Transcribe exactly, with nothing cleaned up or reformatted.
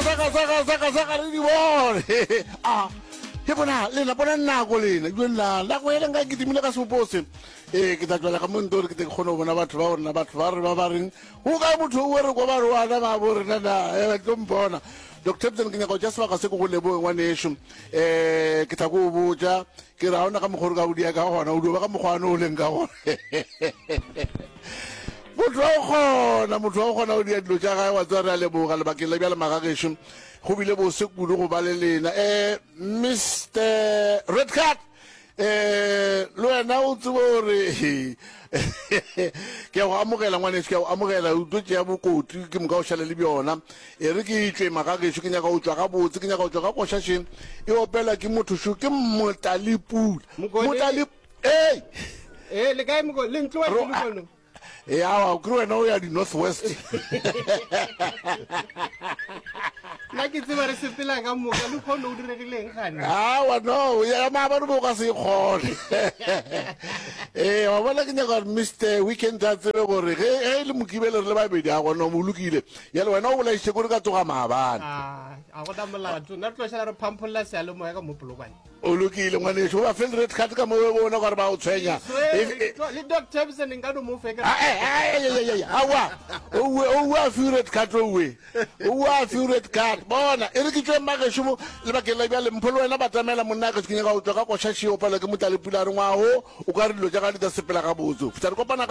saka saka saka saka re di bone a he bona lena bona nako lena jo nna nako e leng ka kitimile ka sebopo se ee ke tla tswela ka monto gore ke tle ke kgone go bona batho ba rona batho ba re ba ba reng go kae motho o re kwa ba re wana ba bo rena na eh, ba tlo mpona doctor Ebsen ke nyaka go tša sebaka se ke go leboge ngwaneso um ke tla ko o botša ke re ga ona ka mokgwa o re ka o dia ka gona o dio ba ka mokgwa ane o leng ka gona motho wa go kgona motho wa go kgona go dia dilo tša gae wa tseba re a leboga lebakeng la bjale magagešo go bile bose kudu go ba le lena um mr red card um le wena o tsebe gore ke a go amogela ngwaneso ke a go amogela o tlo tšea bokoti ke moka o šale le bjona e re ke tšwe magagešo ke nyaka go tšwa gabotse ke nyaka go tšwa ka košašeng e opela ke motho šo ke motalepula Mokone. motale ei ee le kae moko le ntlo Ro- wa lekono yawa ke re wena o ya di-north west nna ke tseba re sepela ka moka le kgone o diregileng gane awa no ya maabane bo ka se e kgone ee wa bona ke nyaka gore mr weekend a tsebe gore ge ge e le mokibele re le babedi a gona mo lokile yale wena o bolaiše kore ka tsoga maabane a a gona molato nna re tlo šala re phampholla seyalemoya ka mo polokwane o lokile ngwaneso o ba fe le red card ka mo o bona gore ba o tshwenya E- e- le doc tabson nka no mo fe ka Ah, eh, eh, eh, eh, eh, aowa owe owe a fiwe red card owe owe a fiwe red card bona e re ke tswe mmagešo mo lebakeng la bjale mpho le wena batamela monna ka ke nyaka go tswa ka košaši opela ke motlalepula a re ngwago o ka re dilo tša ga di ta sepela gabotse fihla re kopana